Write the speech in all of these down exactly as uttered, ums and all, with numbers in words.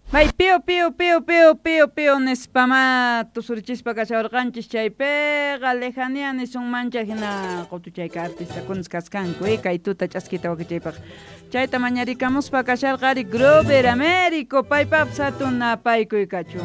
May pío pío pío pío pío pío nispama tusurichispa kashawarqanchis chaypiqa lejanía nisunmancha hina qutuchayka artistakunas kaskanku eh, kay tuta ch'askita wakichaypaq chayta mañarikamuspa kasharqa ari Grover Américo paypap hatun napaykuy kachun.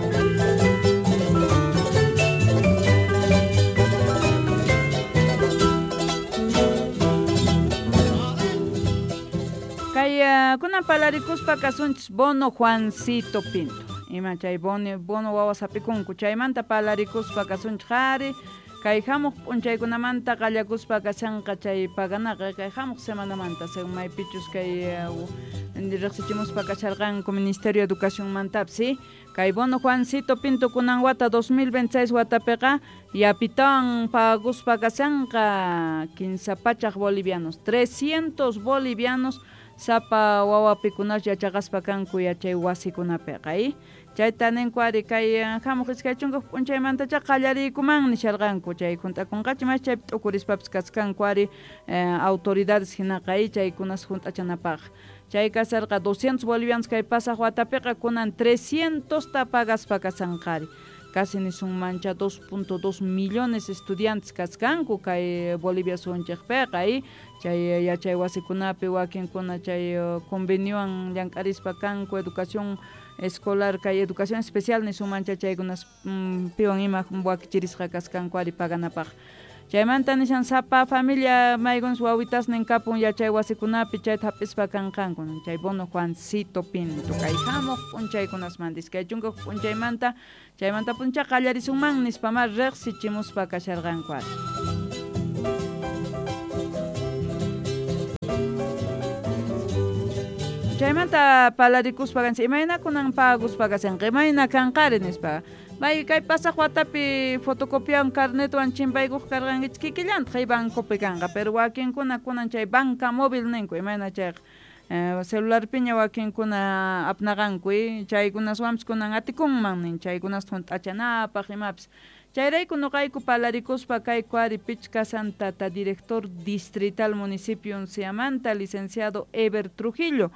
Kay kunan palarikuspa kasunchis bono Juancito Pinto. Ima chay bono, bono wawas hapikunku chaymanta palarikuspa kasunchis qhari kay hamuq p'unchaykunamanta qallakuspa kashanqa chay paganaqa kay hamuq semanamanta según maypichus kay riqsichimuspa kasharqanku Ministerio de Educacionmantapis ¿sí? Kay bono Juancito Pinto kunan wata dos mil veintiséis watapiqa yapitawan paguspa kashanqa kinsa pachaq bolivianos trescientos bolivianos sapa wawapikunas yachaqaspa kanku yachay wasikunapiqa ¿eh? Chayta ninku ari kay hamuq iskay chunka p'unchaymantacha qallariykuman nisharqanku chay junt'akunqachi mas chaypi t'ukurispapis kaskanku ari eh, autoridades hinaqa ¿eh? Chaykunas junt'achanapaq chay kasarqa doscientos bolivianos kay pasaq watapiqa kunan trescientos ta pagaspa kasanqari casi nisunmancha dos punto dos millones estudiantes kaskanku kay Bolivia sunchikpiqa ¿eh? Chay yachay wasikunapi wakinkuna chay conveniowan llank'arispa kanku educación escolar kay educación especial nisunmancha chaykunas piwan ima wakichirisqa kaskanku ari paganapaq. Chaymanta nishan sapa familia maykunas wawitasnin kapun yachay wasikunapi chayta hap'ispa kanqanku chay bono Juancito Pinto kay hamuq p'unchaykunasmanta iskay chunka p'unchaymanta chaymanta p'uncha qallarisunman nispama riqsichimuspa kasharqanku ari. Chaymanta palarikuspa kanchis imayna kunan paguspa kashanqa imayna kanqari nispa may kay pasaq watapi fotocopiawan carnetwan chimpaykuq karqankichik kikillantaq bancopi kanqa pero wakinkuna kunan chay banca móvil ninku imayna chayqa eh, celularpiña wakinkuna apnaqanku eh, chaykunaswanpis kunan atikunman nin chaykunasta hunt'achanapaq imapis chayrayku nuqayku palarikuspa kayku ari pichqa tata director distrital municipio Unciamanta licenciado Ever Trujillo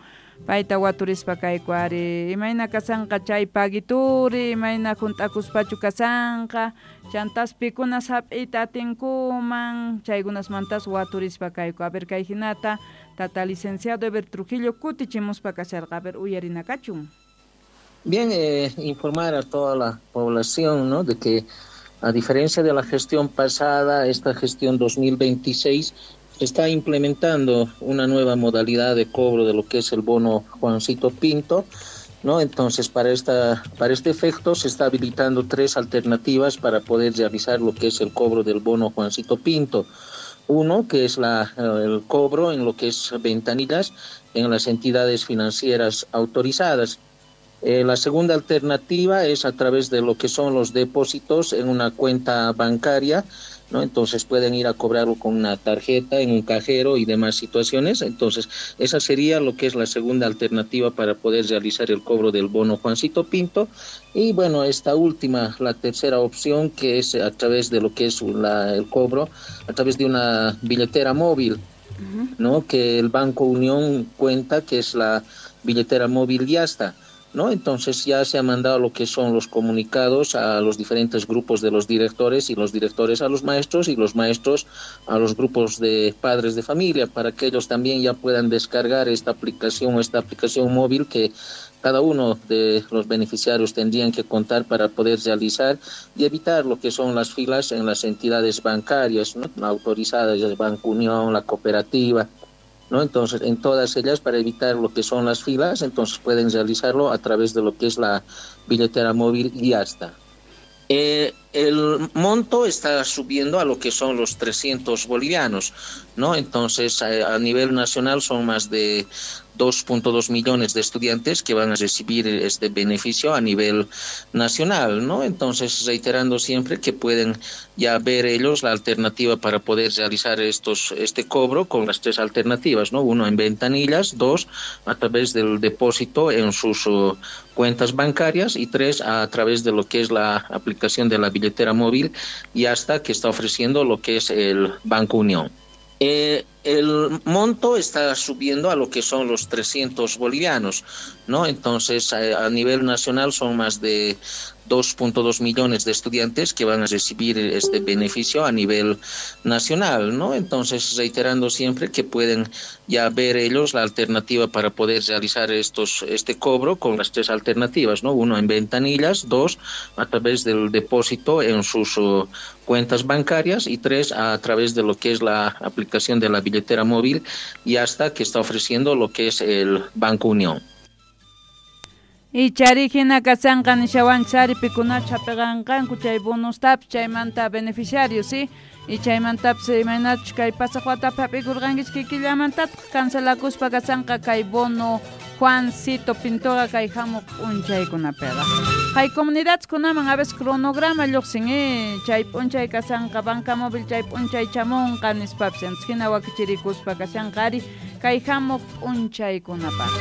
payta waturispa kayku ari imayna kasanqa chay pagituri imayna hunt'akuspachu kasanqa chantas pikunas hap'iyta atinkuman chaykunasmantas waturispa kayku a ver kay hinata tata licenciado Ever Trujillo kutichimuspa kasharqa a ver uyarinakachun. Bien, eh, informar a toda la población, ¿no?, de que a diferencia de la gestión pasada, esta gestión dos mil veintiséis está implementando una nueva modalidad de cobro de lo que es el bono Juancito Pinto, ¿no? Entonces, para esta, para este efecto se está habilitando tres alternativas para poder realizar lo que es el cobro del bono Juancito Pinto. Uno, que es la, el cobro en lo que es ventanillas en las entidades financieras autorizadas. Eh, la segunda alternativa es a través de lo que son los depósitos en una cuenta bancaria, ¿no? Entonces pueden ir a cobrarlo con una tarjeta, en un cajero y demás situaciones. Entonces esa sería lo que es la segunda alternativa para poder realizar el cobro del bono Juancito Pinto. Y bueno, esta última, la tercera opción, que es a través de lo que es la, el cobro, a través de una billetera móvil, uh-huh, ¿no? Que el Banco Unión cuenta, que es la billetera móvil Yasta, ¿no? Entonces ya se ha mandado lo que son los comunicados a los diferentes grupos de los directores y los directores a los maestros y los maestros a los grupos de padres de familia para que ellos también ya puedan descargar esta aplicación o esta aplicación móvil que cada uno de los beneficiarios tendrían que contar para poder realizar y evitar lo que son las filas en las entidades bancarias, ¿no?, autorizadas, el Banco Unión, la cooperativa, ¿no? Entonces, en todas ellas, para evitar lo que son las filas, entonces pueden realizarlo a través de lo que es la billetera móvil y hasta. Eh, el monto está subiendo a lo que son los trescientos bolivianos, ¿no? Entonces, a, a nivel nacional son más de dos punto dos millones de estudiantes que van a recibir este beneficio a nivel nacional, ¿no? Entonces, reiterando siempre que pueden ya ver ellos la alternativa para poder realizar estos, este cobro con las tres alternativas, ¿no? Uno en ventanillas, dos a través del depósito en sus uh, cuentas bancarias y tres a través de lo que es la aplicación de la billetera móvil y hasta que está ofreciendo lo que es el Banco Unión. Eh, El monto está subiendo a lo que son los trescientos bolivianos, ¿no? Entonces, a, a nivel nacional son más de dos punto dos millones de estudiantes que van a recibir este beneficio a nivel nacional, ¿no? Entonces, reiterando siempre que pueden ya ver ellos la alternativa para poder realizar estos, este cobro con las tres alternativas, ¿no? Uno, en ventanillas, dos, a través del depósito en sus uh, cuentas bancarias, y tres, a través de lo que es la aplicación de la billetera móvil y hasta que está ofreciendo lo que es el Banco Unión. Y charihina kasanqa nishawanchari pikunacha peganqanku chay bonustapis chaymanta beneficiarios, ¿sí? Y chaymantapis imaynachus kay pasaq watapi hap'ikurqankichik kikillamantataq cancelakuspa kasanqa kay bono Juancito Pintoqa kay hamuq p'unchaykunapiqa. Kay comunidadkunaman a veces cronograma lluqsin, eh, chay p'unchay kasanqa banca móvil chay p'unchay chamunqa nispapis, entonces hina wakichirikuspa kashanqa ari kay hamuq p'unchaykunapaq.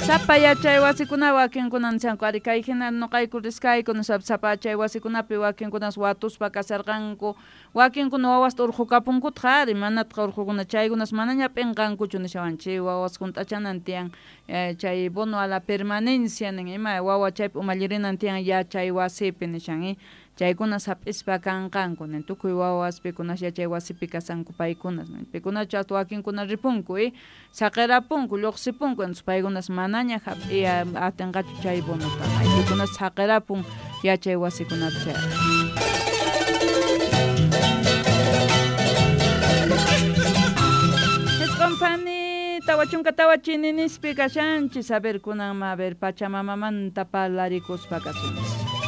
Sapa yachay wasikuna wakinkuna nishanku ari kay hina nuqayku riskayku nisap sapa yachay wasikunapi wakinkunas watuspa kasarqanku wakinkuna wawasta urqukapunkutaq ari manataq urqukuna chaykunas manaña p'inqankuchu nishawanchik wawas hunt'achanan tiyan eh, chay bono a la permanencia nin ima wawa chaypi umallirinan tiyan yachay wasipi nishan eh? Chaykunas hap'ispa kanqanku nin tukuy wawas pikunas yachay wasipi kasanku paykunas nin pikunachu hasta wakinkuna ripunku eh? Saqirapunku lluqsipunku entonces paykunas manaña hap'iy atinqachu chay bonotaqa pikunas saqirapun yachay wasikunapi chayqa. Isqun tawa chunka tawa chininispi kashanchis a ver kunanma a ver Pachamamamanta parlarikuspa kasunchis.